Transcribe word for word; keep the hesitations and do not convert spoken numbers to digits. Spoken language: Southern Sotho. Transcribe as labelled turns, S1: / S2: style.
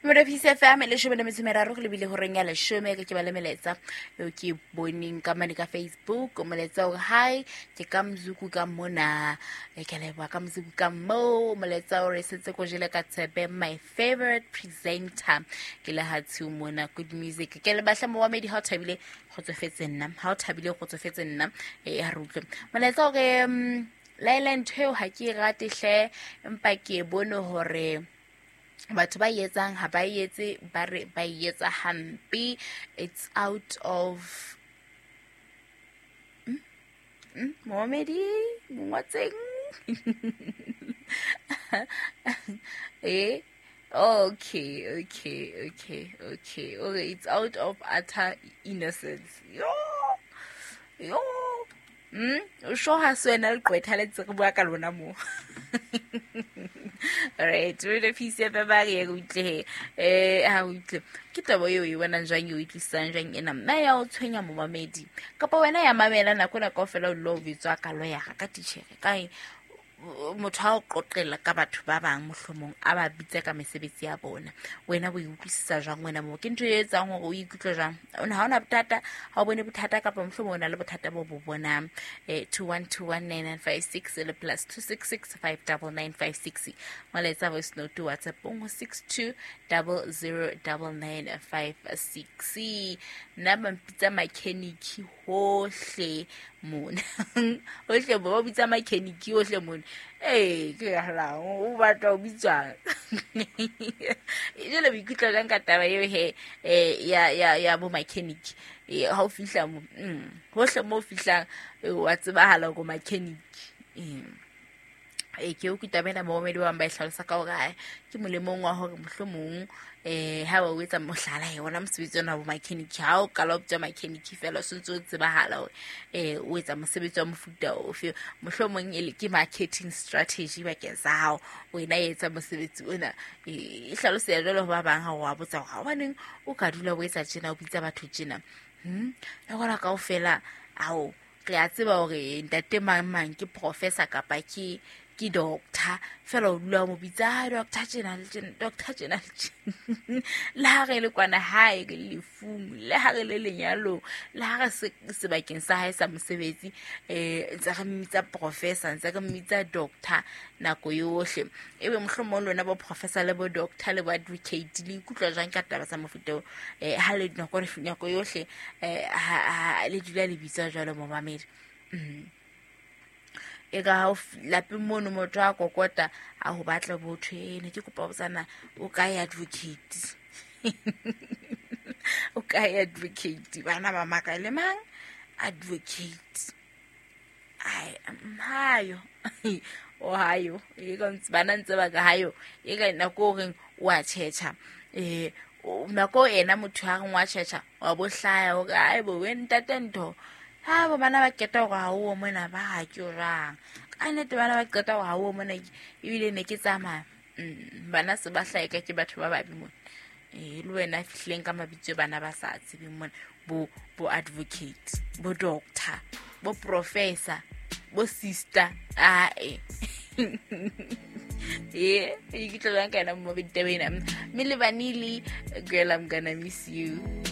S1: Morefisi F M leshome le metso e meraro go lebile horeng ya leshome ke ke ba le melaetsa eo ke boneng ka mane ka Facebook. Molaetsa o re hi ke ka Mzuku ka mona, e ke leboha ka Mzuku ka mo. Molaetsa o re setse ko jele ka tshepe my favorite presenter ke le hatshu mona good music. Ke le batla momamedi ha o thabile kgotsofetse nna, ha o thabile kgotsofetse nna. E ha re utlwe molaetsa o re mm, laela ntho eo ha ke e rate hle, empa ke e bone hore batho ba e etsang ha ba e etse, ba re ba e etsa hampe. It's out of mm, mm, momamedi mongwatseng. Eh, okay, okay, okay, okay, okay. It's out of utter innocence. Yo, yo. Mm, o sure ha se wena leqwetha le ntse re bua ka lona mo. Alright, re le Peace F M ba re utlwe he. Eh, ha utlwe. Ke taba eo e bonang jwang, eo e tlisang jwang ena? Nna ya o tshwenya momamedi. Kapa wena ya mamela nako ena kaofela o dula o bitswa ka lawyer, ka titjhere, kae motho ha o qoqela ka batho ba bang mohlomong a ba bitsa ka mesebetsi ya bona, wena o e utlwisisa jwang wena moo? Ke ntho e etsang hore o ikutlwe jwang? O ne ha ona bothata, ha o bone bothata kapa mohlomong o na le bothata bo bo bonang. Eh, two one two one nine nine five six le plus two six six five double nine five six. Molaetsa voice note WhatsApp ho six two double zero double nine five six. Nna ba mpitsa mechanic hohle mona. Hohle bo ba bitsa mechanic hohle mona. Eh, ke ya hlang, o batla ho bitswang. Jwale o ikutlwa jwang ka taba eo he, eh, ya, ya, ya bo mechanic? Eh, ha o fihla mo, mm, hohle mo o fihlang, eh, wa tsebahala hore o mechanic. Eh, eh, ke utlwe taba ena momamedi ba bang ba e hlalosa ka hore, hai, ke molemong wa hore mohlomong, eh, ha ba o etsa mohlala, he, ona mosebetsi ona wa bo mechanic, ha o qala o bitswa mechanic feela, o sontse o tsebahala hore, eh, o etsa mosebetsi wa mofuta ofe. Mohlomong e le ke marketing strategy bakeng sa hao, wena e etsa mosebetsi ona. Eh, e hlaloseha jwalo ho ba bang ha o wa botsa hore hobaneng o ka dula o etsa tjena, o bitsa batho tjena. Hmm? Le hona kaofela, ao, re a tseba hore ntate mang mang ke professor kapa ke, ke doctor, fela o dula o mo bitsa, ah, doctor tjena le tjena, doctor tjena le tjena. Le ha re le kwana hae, re le lefung, le ha re le lenyalong, le ha re se sebakeng sa hae sa mosebetsi, eh, ntse re mmitsa professor, ntse re mmitsa doctor nako yohle. Ebe mohlomong lona bo professor le bo doctor le bo advocate le ikutlwa jwang ka taba tsa mofuta oo? Eh, ha le nako, nako yohle, eh, ha, ha le dula le bitswa jwalo momamedi. Mm. E ka ha o f-, lapeng mono motho a kokota, a ho batla botho, eh, ne ke kopa ho botsana, o kae advocate? O kae advocate? Bana ba maka le mang? Advocate. Ai, mm, hayo. O hayo. E ka ntse, bana ntse ba ka hayo. E ka nako o reng o a tjhetjha. Eh, o, nako ena motho ha reng wa tjhetjha, wa bo hlaya hore, ai bo, we ntate ntho. Ha bo bana ba qeta hore ha o mona ba ha ke jwang. Ka nnete bana ba qeta hore ha o mona ebile ne ke tsamaya. Mm, bana se ba hlaeka ke batho ba babe mona. Eh, le wena fihleng ka mabitso bana ba sa tsebeng mona, bo, bo advocate, bo doctor, bo professor, bo sister. Ae. Eh, ke tlo jwang ka yena mo ditaba ena. Mme le Vanille, girl, I'm gonna miss you.